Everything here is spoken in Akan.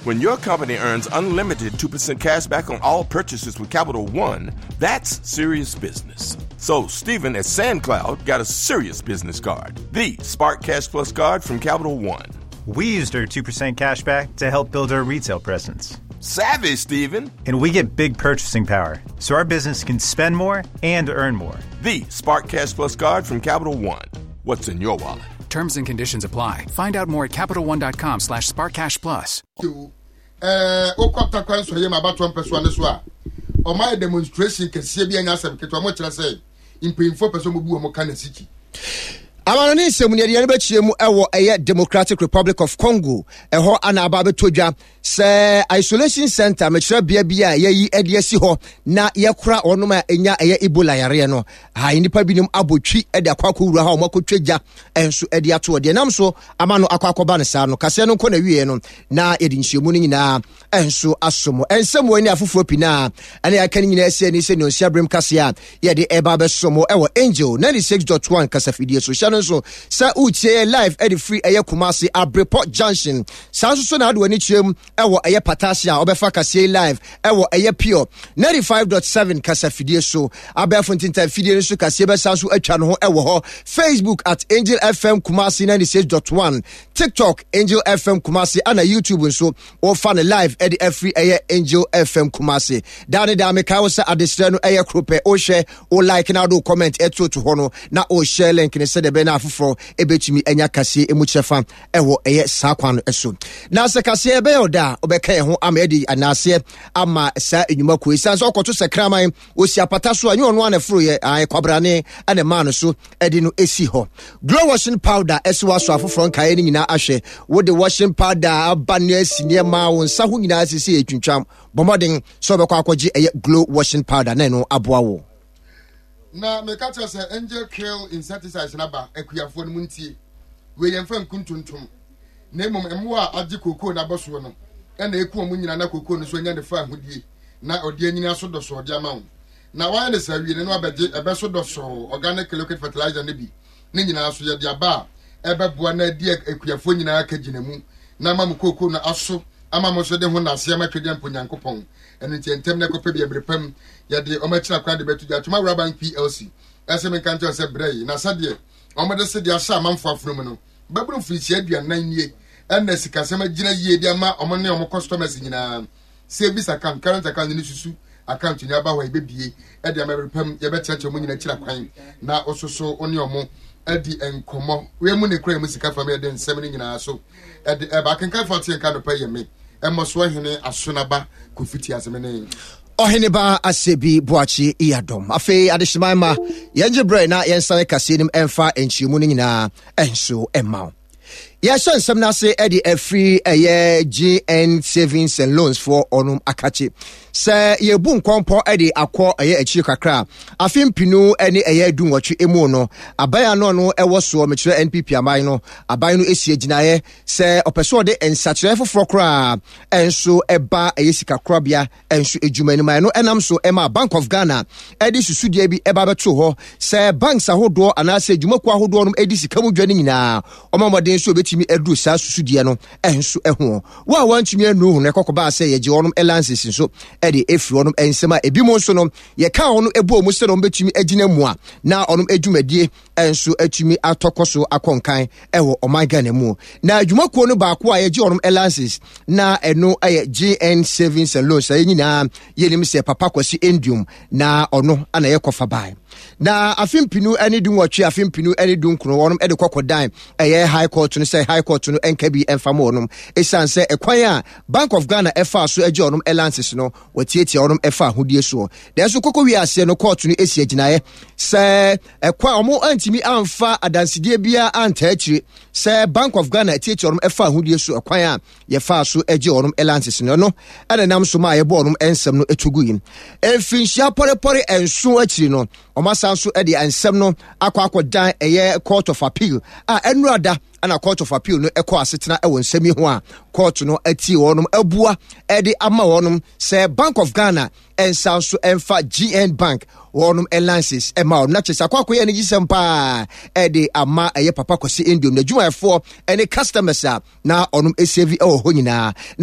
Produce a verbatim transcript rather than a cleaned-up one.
When your company earns unlimited two percent cash back on all purchases with Capital One, that's serious business. So, Steven at SandCloud got a serious business card, the Spark Cash Plus card from Capital One. We used our two percent cash back to help build our retail presence. Savvy, Steven! And we get big purchasing power, so our business can spend more and earn more. The Spark Cash Plus card from Capital One. What's in your wallet? Terms and conditions apply. Find out more at CapitalOne dot com slash SparkCashPlus. Ɛɛ wokɔ Takwa Nsɔyɛ mu abatoɔ mpɛsoa no so a, ɔma yɛ demonstration kɛseɛ bi. Anya asɛm ketewa, ɔmo kyerɛ sɛ mpanyinfoɔ pɛ sɛ ɔmo bu ɔmo ka na sikyi. Amano ne nsɛm no yɛde yɛn bɛkyerɛ mu ɛwɔ ɛyɛ Democratic Republic of Congo. Ɛhɔ ana aba abɛtɔ dwa sɛ isolation center, mekyerɛ bea bi a yɛyi de asi hɔ na yɛkora wɔnom a ɛnya ɛyɛ Ebola yareɛ no ha. Nnipa binom abɔ twi de akɔ akɔwura hɔ a wɔn akɔtwa gya nso de ato hɔ. Deɛ nam so ama no akɔ akɔba no saa no, kaseɛ no nkɔ na wieɛ no na yɛde nhyiamu no nyinaa nso aso mu. Ɛnsɛm wɔ ne afoforɔ pii na ɛne yɛaka no nyinaa asi ani sɛ nnuonsia berem kaseɛ a yɛde ɛba bɛso mo ɛwɔ Angel ninety-six point one kasafidie so. Hyɛ no nso sɛ wotie yɛ live ɛde firi ɛyɛ Kumase Abrepɔ Junction. Saa nso so na ade w'ani kyerɛ mu ɛwɔ ɛyɛ Patase a wɔbɛfa kaseɛ yi live ɛwɔ ɛyɛ Pure ninety-five point seven kasafidie so. Abɛɛfo ntintan fidie no so kaseɛ bɛsa so atwa no ho ɛwɔ hɔ. Facebook at Angel F M Kumase ninety-six point one, TikTok Angel F M Kumase, ana YouTube nso wɔfa no live ɛde afiri ɛyɛ Angel F M Kumase. Daa ne daa mekae wo sɛ adesrɛ no ɛyɛ koro pɛ: wohwɛ, wo like na wode wo comment ɛtoto hɔ no na wohyɛ link no sɛdeɛ ɛbɛyɛ no afoforɔ ɛbɛtumi anya kaseɛ ɛmu kyerɛfa ɛwɔ ɛyɛ saa kwan no so. Na sɛ kaseɛ ɛbɛyɛ wo da a, wobɛka yɛn ho ama yɛde anaaseɛ ama saa nnwuma kuo. Ɛsiane sɛ ɔkɔto sɛ kraman ɔsi apata so a, nyɛ ɔno a na ɛforoyɛ ayɛ kwabrane ɛna maa no so ɛde no ɛsi hɔ. Glow washing powder ɛsi waso afoforɔ nkaeɛ no nyinaa ahwɛ. Wode washing powder aba ne asi nneɛma wo nsa ho nyinaa sisi ɛtwintwam. Bɔ mmɔden sɛ wobɛkɔ akɔgye ɛyɛ Glow washing powder na ɛno aboa wo. Na meka kyerɛ sɛ Angel Kill insecticides no aba. Akuafoɔ no mu ntie wei: yɛmfa nku ntontom, na mmom mmoa a agye kookoo no abɔ soɔ no ɛna ɛku ɔmo nyinaa na kookoo no so anya ne fa ahodie na ɔde anyini aso dɔsɔɔ de ama wo. Na wayɛ ne saa wie no na wabɛgye ɛbɛ so dɔsɔɔ organic liquid fertilizer no bi ne nyinaa so yɛde aba a ɛbɛboa na adi akuafoɔ nyinaa ka gyina mu na ama mo kookoo no aso ama mo nso de ho nase ama Twɛdeɛ mpo Nyankopɔn. Ɛno nti ntɛm na ɛkɔpɛ bi mmerɛ pam yɛde ɔmo akyina kwan de bɛto dwa. Atwoma Wura Bank P L C ɛsɛ menka nkyɛw sɛ berɛ yi na sɛdeɛ ɔmode se de ahyɛ amanfoɔ afono mu no bɛboro mfirinhyia aduanan nie ɛna sikasɛm agyina yie de ama ɔmo ne ɔmo customers nyinaa. Savings account, current account ne susu account ni aba hɔ a yɛbɛbie ɛde ama bɛrɛ pam. Yɛbɛkyerɛkyerɛ ɔmo nyinaa akyira kwan na ɔsoso ɔne ɔmo adi nkɔmmɔ. Wei mu ne kura mu sika fam yɛde nsɛm no nyinaa so ɛde ɛba. Akenkanfo ate nka nɔpɛ yɛ me ɛmmɔ so ɔhene Asonaba Kofi ti asɛm ne Ɔhene ba Asɛbi Boakye Iyadɔm. Afei adehyeman ma yɛngye berɛ na yɛnsane kaseɛ nim ɛmfa nkyerɛmu no nyinaa ɛnso ɛma wo. Yɛhyɛ nsɛm no ase de afiri ɛyɛ G N Savings and Loans foɔ ɔnom akakye sɛ yɛbu nkɔmpɔ de akɔ ɛyɛ akyiri kakra. Afe mpinu ne ɛyɛ du nwɔtwe mu no, aban ano no ɛwɔ soɔ, mekyerɛ N P P aban no, aban no esi agyinaeɛ sɛ ɔpɛ sɛ ɔde nsakyerɛ foforɔ koraa ɛnso ɛba ɛyɛ sikakorabea ɛnso adwuma anim a ɛno ɛnam so ɛma Bank of Ghana ɛde susudeɛ bi ɛba bɛto hɔ sɛ banks ahodoɔ anaasɛ adwumakuo ahodoɔ no ɛdi sika mu dwa no nyinaa ɔma mmɔden nso obɛtumi aduru saa susudeɛ no ɛnso ɛho. Wo a wantumi anuru ho no, ɛkɔkɔbaa sɛ yɛgye wɔnom license nso ɛde ɛfiri wɔnom nsɛm a ebi mu nso no yɛka wɔn ɛbɔ mu sɛ wɔn bɛtumi agyina mu a na wɔn adwumadie nso atumi atɔkɔ so akɔ nkan ɛwɔ ɔman Ghana mu. Na adwumakuo no baako a yɛgye wɔn license na ɛno ɛyɛ G N Savings and Loans. Ɛyɛ nyinaa yɛnim sɛ Papa Kwasi Nduom na ɔno ana yɛ kɔfa ban. Na afe mpinu ne du nwɔtwe, afe mpinu ne du nkron, wɔn de kɔkɔ dan ɛyɛ High Court no sɛ High Court no nka bi mfa ma wɔnom, ɛsiane sɛ ɛkwan a Bank of Ghana ɛfa so agye wɔnom license no wɔtiatia wɔnom ɛfa ahodie soɔ. Nanso kɔkɔ wie aseɛ no, court no esi agyinaeɛ sɛ ɛkwan a wɔn antumi amfa adansedie biara antaa akyire sɛ Bank of Ghana tiatia wɔnom ɛfa ahodie so ɛkwan a yɛfaa so agye wɔnom license no no ɛna nam so ma a yɛbɔ wɔnom nsɛm no etu gu yi. Mfinhyia pɔrepɔre nson akyiri no, wɔn asan so de nsɛm no akɔ akɔdan ɛyɛ Court of Appeal a ɛnurada ɛna Court of Appeal no ɛkɔ asetena ɛwɔ nsɛm yi ho a court no atie wɔnom abua ɛde ama wɔnom sɛ Bank of Ghana ɛnsa nso ɛmfa G N Bank wɔnom licenses ɛma wɔn. Na kyerɛ sɛ akɔ akɔyɛ anigye sɛm paa ɛde ama ɛyɛ Papa Kwasi Nduom n'adwumayɛfoɔ ɛne customers a na ɔnom ɛsave ɛwɔ hɔ nyinaa na